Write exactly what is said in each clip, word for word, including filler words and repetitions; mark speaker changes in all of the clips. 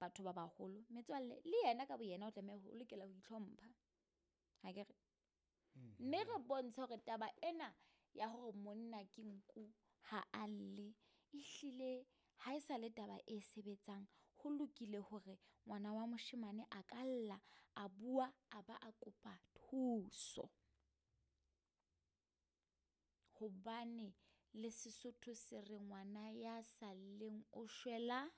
Speaker 1: batho ba baholo. Metswalle le yena ka boyena o tlameha ho lokela ho itlhompha. Ha ke re? Mme re bontshe hore taba ena ya hore monna ke nku ha a lle, ehlile ha e sa le taba e sebetsang. Ho lokile hore ngwana wa moshemane a ka lla, a bua, a ba a kopa thuso. Hobane le Sesotho se re ngwana ya sa lleng o shwela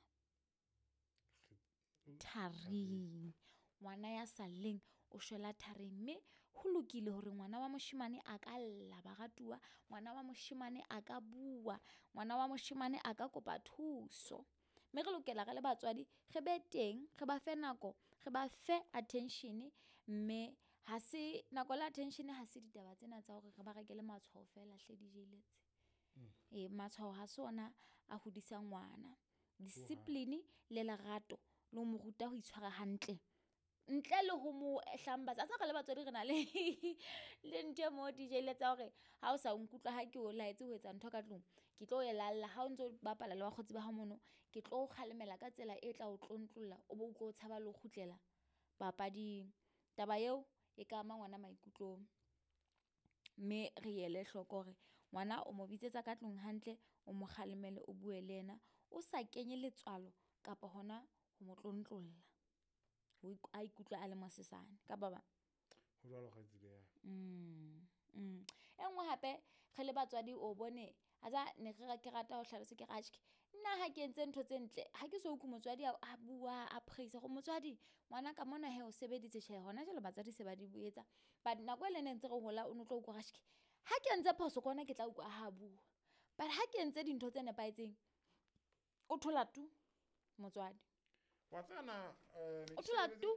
Speaker 1: tharing. Ngwana ya sa lleng o shwela tharing. Mme ho lokile hore ngwana wa moshemane a ka lla baratuwa, ngwana wa moshemane a ka bua, ngwana wa moshemane a ka kopa thuso. Mme re lokela re le batswadi re be teng, re ba fe nako, re ba fe attention. Mme ha se nako le attention, ha se ditaba tsena tsa hore re ba rekele matshwao feela hle D J Lets. E matshwao ha se ona a hodisang ngwana. Discipline le lerato le ho mo ruta ho itshwara hantle ntle le ho mo hlambatsa. A tseba re le batswadi re na le le ntho e mo D J Lets ya hore ha o sa nkutlwa ha ke o laetse ho etsa ntho ka tlung, ke tlo e lalla. Ha o ntso bapala le bakgotsi ba hao mono, ke tlo o kgalemela ka tsela e tla o tlontlolla, o bo utlwe o tshaba le ho kgutlela papading. Taba eo e ka ama ngwana maikutlong. Mme re ele hloko hore ngwana o mo bitsetsa ka tlung hantle, o mo kgalemele, o bue le yena, o sa kenye letswalo kapa hona ho mo tlontlolla. O ik-, a ikutlwe a le mosesane ka ba bang.
Speaker 2: Ho jwalo kgaitsedi ya ka.
Speaker 1: Mm, mm. E nngwe hape re le batswadi o bone, a tsa ne re ra-, ke rata ho hlalosa ke re, atjhe, nna ha ke entse ntho tse ntle, ha ke so utlwe motswadi a, a bua, a praise gore motswadi, ngwana ka mona he o sebeditse. Tjhe, hona jwale batswadi se ba di etsa. But nako e le ne ntse re hola, o no tlo utlwa hore, atjhe, ha ke entse phoso ke hona ke tla utlwa ha bua. But ha ke entse dintho tse nepahetseng, o thola tu motswadi.
Speaker 2: Wa tseba na, eh, ne
Speaker 1: O
Speaker 2: ke
Speaker 1: thola
Speaker 2: shebeletse
Speaker 1: tu?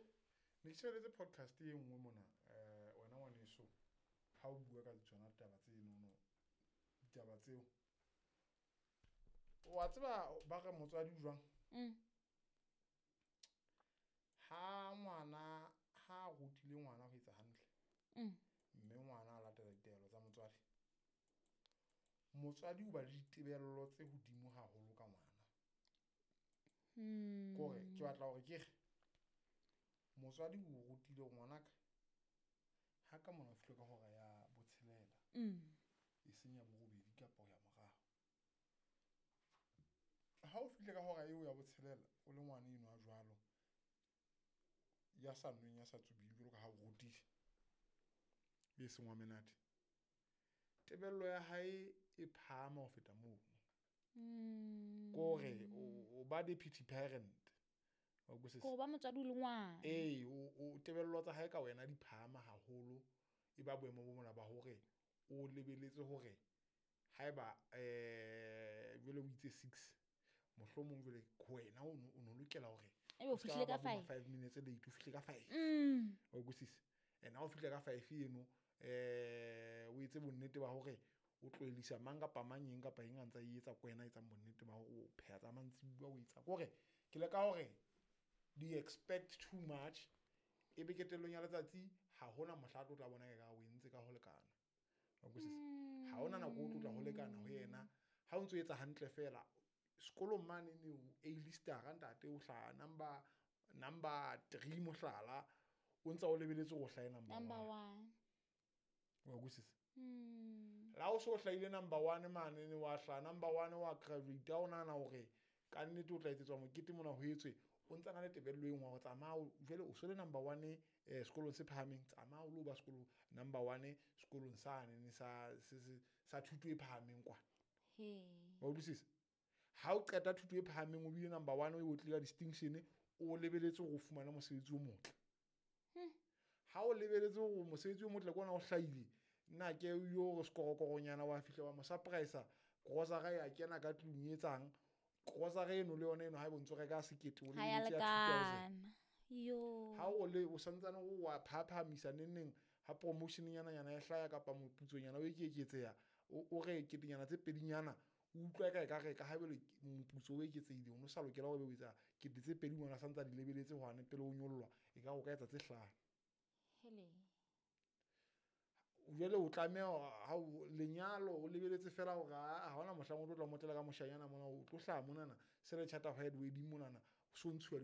Speaker 2: ne ke shebeletse podcast e nngwe mona, eh, wena ngwaneso, ha o bua ka tsona taba tse nono, ditaba tseo. Wa tseba ba re motswadi o jwang?
Speaker 1: Mm.
Speaker 2: Ha ngwana, ha rutile ngwana ho etsa hantle.
Speaker 1: Mm.
Speaker 2: Mme ngwana a latela ditaelo tsa motswadi. Motswadi o ba le ditebello tse hodimo haholo ka ngwana.
Speaker 1: Hmm.
Speaker 2: Kore ke batla hore ke re motswadi o rutile hore ngwanaka ha ka mona o fihle ka hora ya botshelela.
Speaker 1: Mm.
Speaker 2: E seng ya borobedi kapa ho ya morao. Ha o fihle ka hora eo ya botshelela o le ngwana eno a jwalo, ya sa nweng, ya sa tsubing jwalo ka ha o rutile, e seng wa menate, tebello ya hae e phahama ho feta mono.
Speaker 1: Mm.
Speaker 2: Kore o, o ba deputy parent. Wa utlwisisa?
Speaker 1: Kore ba motswadi o le ngwana.
Speaker 2: Ee, o, o tebello tsa hae ka wena di phahama haholo. E ba boemo bo mona ba hore o lebeletse hore haeba, eh, jwale o itse six, mohlomong jwale wena o no, o no lokela hore
Speaker 1: Ebe o
Speaker 2: o ska
Speaker 1: fihlile ka
Speaker 2: ba bo ma
Speaker 1: five.
Speaker 2: five minutes late, o fihle ka five.
Speaker 1: Mm.
Speaker 2: Wa utlwisisa? And ha o fihle ka five eno, eh, o etse bonnete ba hore o tlohellisa mang kapa mang eng kapa eng a ntsa e etsa, ke wena a etsang bonnete ba hore o pheha tsa mantsibuya, o etsa. Ke hore ke leka hore di expect too much, ebe qetellong ya letsatsi ha hona mohla a tlo tla bona ekare o entse ka ho lekana. Wa utlwisisa? Ha hona nako o tlo tla ho lekana ho yena. Ha o ntso etsa hantle feela, sekolong mane ne o A-lister-a ntate, o hlaha number, number three mohlala, o ntsa o lebeletse hore o hlahe number
Speaker 1: Number
Speaker 2: one.
Speaker 1: one.
Speaker 2: Wa utlwisisa?
Speaker 1: Mm.
Speaker 2: La o so hlahile number one mane, ne wa hlaha number one, wa graduate, o nahana hore ka nnete o tla etsetswa mokete mona ho etswe, o ntsa na le tebello e nngwe hore tsamaya o, jwale o so le number one, eh, sekolong se phahameng, tsamaya o lo ba sekolo number one sekolong sane ne sa, se, se, sa thuto e phahameng kwana.
Speaker 1: He.
Speaker 2: Wa utlwisisa? Ha o qeta thuto e phahameng, o bile number one, o tlile ka distinction, o lebeletse hore o fumane mosebetsi o motle.
Speaker 1: Hmm.
Speaker 2: Ha o lebeletse hore mosebetsi o motle ke ona o hlahile, nna ke yo re sekorokoronyana wa fihla wa mo surprise-a, grocery ya kena ka tlung e etsang, grocery eno le yona eno ha e bontse o reka sekete, o
Speaker 1: Ha ya
Speaker 2: lebeletse ya two thousand.
Speaker 1: lekana. Yo.
Speaker 2: Ha o le, o santsane o wa phaphamisa neng neng, ha promotion nyana nyana e hlaya kapa moputsonyana o eketseha, o, o re ketenyana tse pedinyana, o utlwa eka ekare ka ha jwale moputso o eketsehile, o no sa lokela hore o etsa kete tse pedi ngwana sa ntse a di lebeletse hwane pele o nyollwa, e ka o ka etsa tse hlano.
Speaker 1: Hele.
Speaker 2: Jwale o tlameha hore ha o lenyalo o lebeletse fela hore ha, ha hona mohlang o tlo tla motlela ka moshanyana mona, o tlo hlaha monana, se le chat of head wedding monana, o so ntshuwa